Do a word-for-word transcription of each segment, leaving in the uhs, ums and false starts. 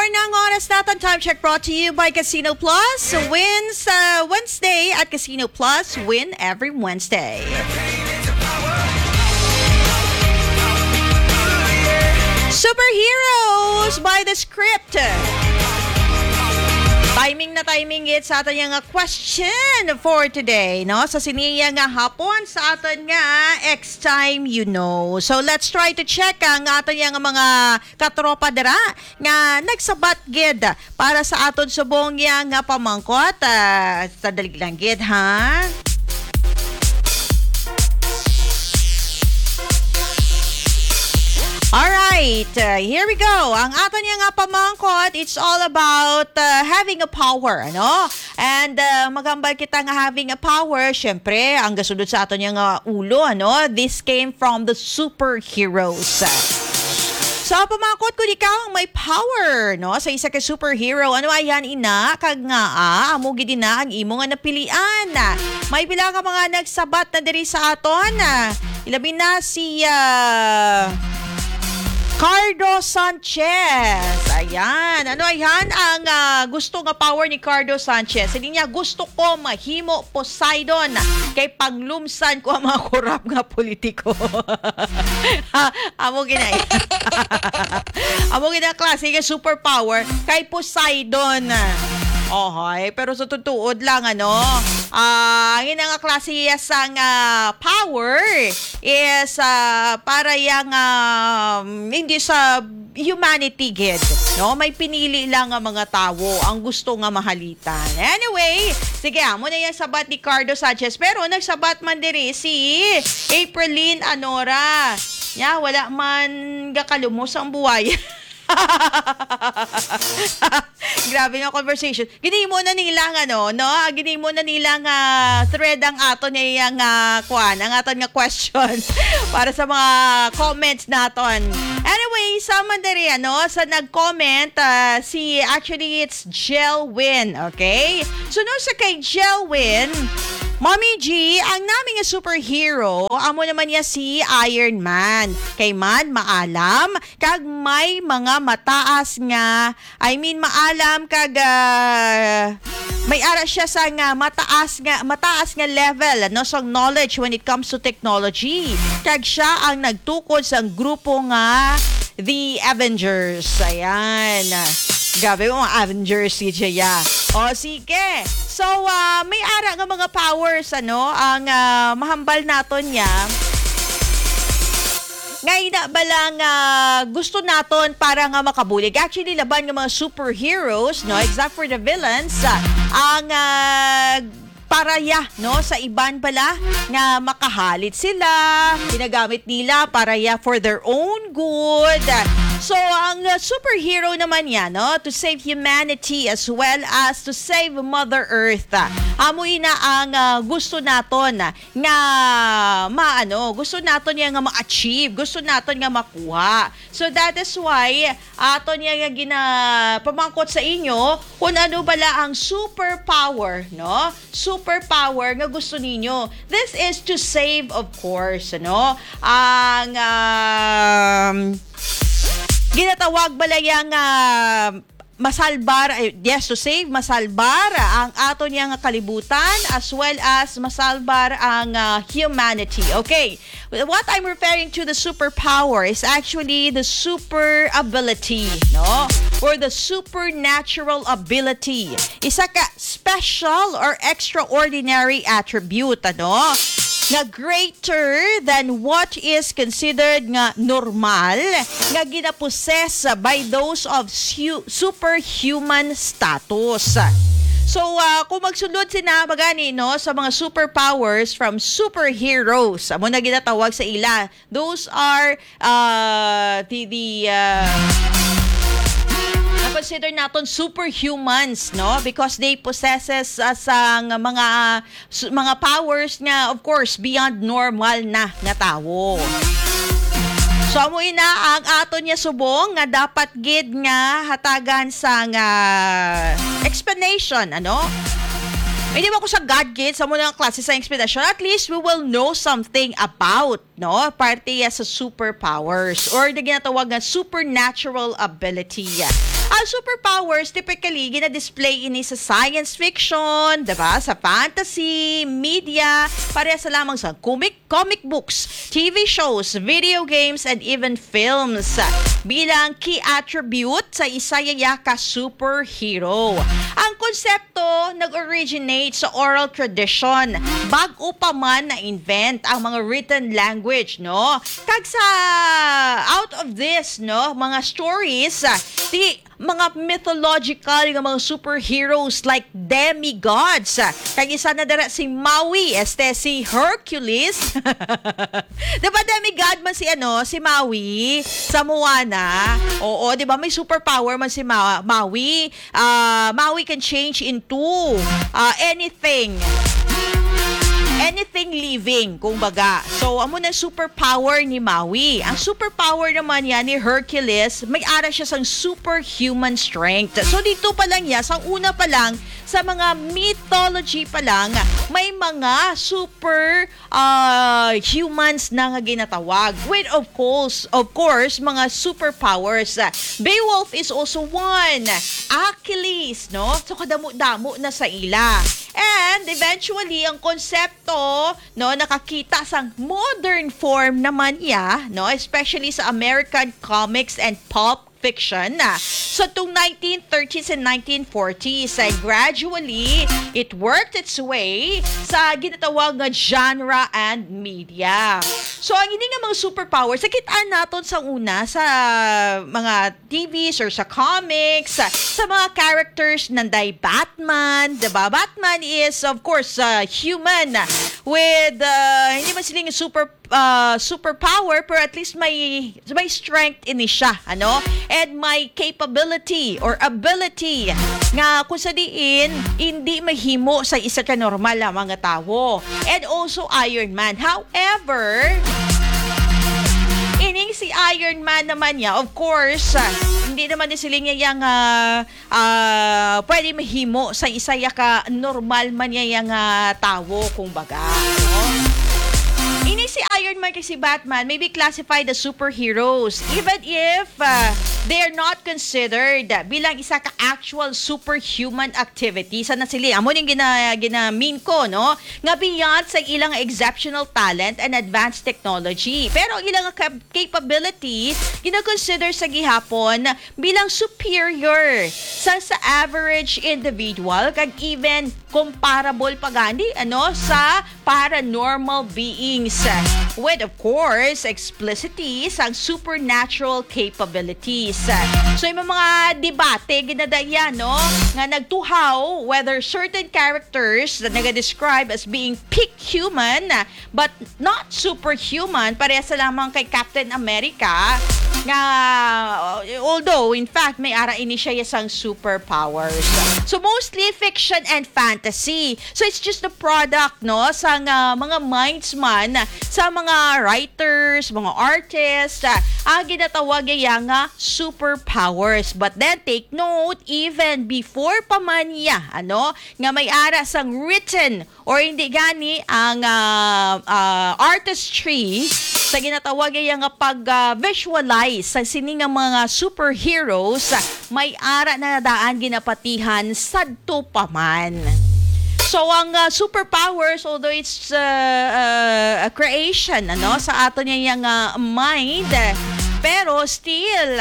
Ang oras natin, time check brought to you by Casino Plus. Wins uh, Wednesday at Casino Plus. Win every Wednesday. Superheroes by the script. Timing na timing it sa aton nga question for today, no? Sa sini nga hapon, sa aton nga X Time You Know. So, let's try to check ang aton nga mga katropa dira nga nagsabat gid para sa aton subong nga pamangkot. Ah, sa dalig lang gid, ha? Alright, uh, here we go. Ang aton nga pamangkot, it's all about uh, having a power, ano? And uh, maghambal kita nga having a power, syempre, ang gasunod sa aton nga ulo, ano? This came from the superheroes. So, pamangkot, kung ikaw ang may power, no, sa isa ka superhero, ano ayan ina, kag ngaa, amo gid ina ang imo nga napilian. May pila ka mga nagsabat na diri sa aton. Ilabi na si ah, Cardo Sanchez. Ayan. Ano ayan ang ah, gusto nga power ni Cardo Sanchez? Siling niya, gusto ko mahimo Poseidon kay panglumsan ko ang mga korap nga politiko. Amo gina. Amo gina klase nga superpower kay Poseidon. Ohoy, pero sa tutuod lang, ano, ah, ang ina nga klase sang ah, power is ah, para yang ah, hindi sa humanity gid, no? May pinili lang nga mga tawo ang gusto nga mahalitan. Anyway, sige, amo na yung sabat ni Cardo Sanchez. Pero nagsabat man diri si Aprilyn Anora. Ya, wala man gakalumos ang buhay. Grabe nga conversation. Ginimo na nila nga, no? No? Ah, ginimo na nila nga thread ang aton nga iyang ah, kuan, ang aton nga question para sa mga comments naton. Anyway, sa man diri, ano, sa nag-comment, ah, si, actually, it's Jelwin, okay? So, no, sa kay Jelwin, Mommy G, ang nami nga superhero, amo naman niya si Iron Man. Kay man, maalam, kag may mga mataas nga, I mean, maalam kag ah, may ara siya sa nga mataas nga mataas nga level, ano, sa knowledge when it comes to technology. Kag siya ang nagtukod sa grupo nga The Avengers. Ayan. Grabe mo, mga Avengers si Jaya. O, sige. So, ah, may ara nga mga powers, ano, ang ah, mahambal naton niya. Nga ina ba lang ah, gusto naton para nga makabulig? Actually, laban nga mga superheroes, no, except for the villains, ah, ang ah, paraya, no, sa iban bala nga makahalit sila, ginagamit nila paraya for their own good. So, ang ah, superhero naman niya, no, to save humanity as well as to save Mother Earth. Amo ina ang ah, gusto naton nga maano, gusto naton niya nga ma-achieve, gusto naton nga makuha. So that is why aton niya nga ginapamangkot sa inyo kung ano bala ang superpower, no? Superpower nga gusto ninyo. This is to save, of course, no? Ang um, ginatawag bala yang ah, masalbar, ay, yes, to save, masalbar ang ato niya nga kalibutan as well as masalbar ang ah, humanity. Okay, what I'm referring to the superpower is actually the super ability, no? Or the supernatural ability. Isa ka special or extraordinary attribute, ano? Nga greater than what is considered nga normal nga ginapossess by those of su- superhuman status. So, ah, kung magsulod sina magani, no, sa mga superpowers from superheroes, amo na ginatawag sa ila. Those are uh, the, the uh, na-consider naton superhumans, no? Because they possesses uh, sang mga su- mga powers nga, of course, beyond normal na nga tawo. So, amo ina ang aton niya subong nga dapat gid nga hatagan sang explanation, ano? Hindi ba ko sa God gid sa muna klase sa explanation? At least we will know something about, no? Parte ya sa superpowers or na ginatawag nga supernatural ability. Ang superpowers, typically, gina-display ini sa science fiction, diba? Sa fantasy, media, pareha sa lamang sa comic, comic books, T V shows, video games, and even films. Bilang key attribute sa isa ya ka superhero. Ang konsepto nag-originate sa oral tradition, bag-o pa man na-invent ang mga written language, no? Kag sa out of this, no, mga stories, ah, di mga mythological nga mga superheroes like demigods. Kag isa na dira si Maui, este si Hercules. Di ba demigod man si ano, si Maui sa Moana? Oo, di ba may superpower man si Ma- Maui? Ah, Maui can change into ah, anything. Anything living, kumbaga. So, amo na superpower ni Maui. Ang superpower naman niya ni Hercules, may ara siya sang superhuman strength. So, dito pa lang niya, sa una pa lang, sa mga mythology pa lang, may mga super ah, humans na nga ginatawag. With, of course, of course, mga superpowers. Beowulf is also one. Achilles, no? So, kadamo-damo na sa ila. And eventually, ang konsepto, no, nakakita sang modern form naman niya, no, especially sa American comics and pulp fiction. So, tung nineteen thirties and nineteen forties, and gradually, it worked its way sa ginatawag nga genre and media. So, ang ini nga mga superpowers, nakit-an naton sa una sa mga T Vs or sa comics, sa mga characters nanday Batman, diba? Batman is, of course, uh, human with, uh, hindi man sila yung super uh, superpower, pero at least may may strength ini siya, ano? And may capability or ability nga kung sa diin hindi mahimo sa isa ka normal lamang nga tawo. And also Iron Man. However, ining si Iron Man naman niya, of course, ah, hindi naman ni siling niya yang ah, ah, pwede mahimo sa isa ya ka normal man niya nga tawo, kung baga, no? Ini si Iron Man kag si Batman may be classified as superheroes, even if ah, they are not considered bilang isa ka actual superhuman activity. Sa nasili, amo ning gina, gina-mean ko, no? Nga beyond sa ilang exceptional talent and advanced technology. Pero ang ilang cap- capabilities, gina-consider sa gihapon bilang superior sa, sa average individual kag even comparable pa gani, ano, sa paranormal beings, with, of course, explicitly sang supernatural capabilities. So, yung mga debate ginadaya, no, nga nagtuhaw whether certain characters na naga-describe as being peak human but not superhuman, parehas sa lamang kay Captain America, nga, uh, although, in fact, may ara ini siya sang superpowers. So, mostly fiction and fantasy. So, it's just the product, no, sa nga mga minds man, sa mga writers, mga artists, ah, ang ginatawag niya nga superpowers. But then, take note, even before pa man niya, ano, nga may ara sang written or hindi gani ang ah, ah, artistry sa ginatawag niya nga pag-visualize sa sini nga mga superheroes, may ara na daan ginapatihan sadto pa man. So ang ah, superpowers, although it's ah, ah, a creation, ano, sa ato niya nga mind, pero still,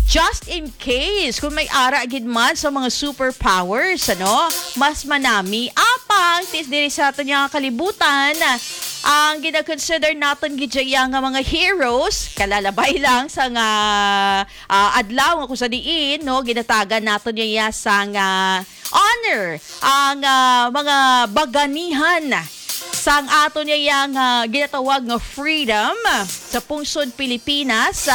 just in case, kung may ara gid man sa mga superpowers, ano, mas manami. Apang, tis diri sa aton nga kalibutan, ang gina-consider naton gid dyan nga mga heroes, kalalabay lang sa nga ah, adlaw nga kung sa diin, no, ginatagan naton niya sa nga honor ang ah, mga baganihan sang aton niya nga ginatawag nga freedom sa pungsod Pilipinas.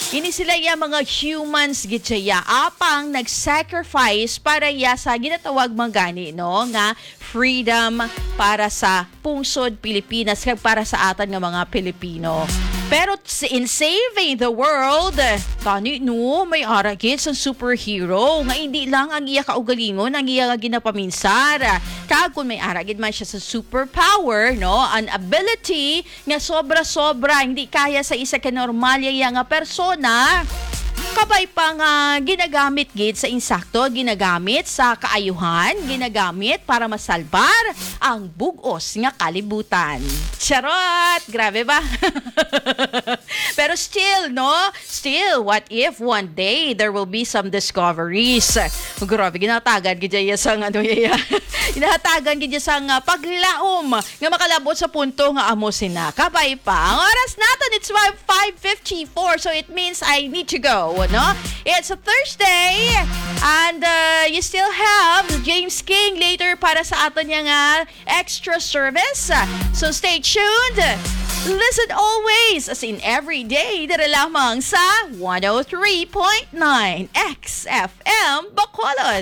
Ini sila ya mga humans gid siya, apang nag-sacrifice para ya sa ginatawag man gani, no, nga freedom para sa pungsod Pilipinas kag para sa atan nga mga Pilipino. Pero s- in saving the world, tani no, may ara gid sang superhero nga hindi lang ang iya kaugalingon ang iya nga ginapaminsar. Kag kung may ara gid man siya sa superpower, no, an ability nga sobra-sobra, hindi kaya sa isa ka normal ya nga persona, Kabay pa nga ginagamit gid sa insakto, ginagamit sa kaayuhan, ginagamit para masalbar ang bug-os nga kalibutan. Charot! Grabe ba? Pero still, no? Still, what if one day there will be some discoveries? Grabe, ginatagan gid iya sang ano iya. Ginatagan gid iya sang, ah, paglaom nga makalabot sa punto nga amo sina. Kabay pa. Ang oras naton, it's five fifty-four, so it means I need to go, no? It's a Thursday, and, uh, you still have James King later para sa aton niya nga extra service. So stay tuned. Listen always, as in every day, dira lamang sa one oh three point nine X F M Bacolod.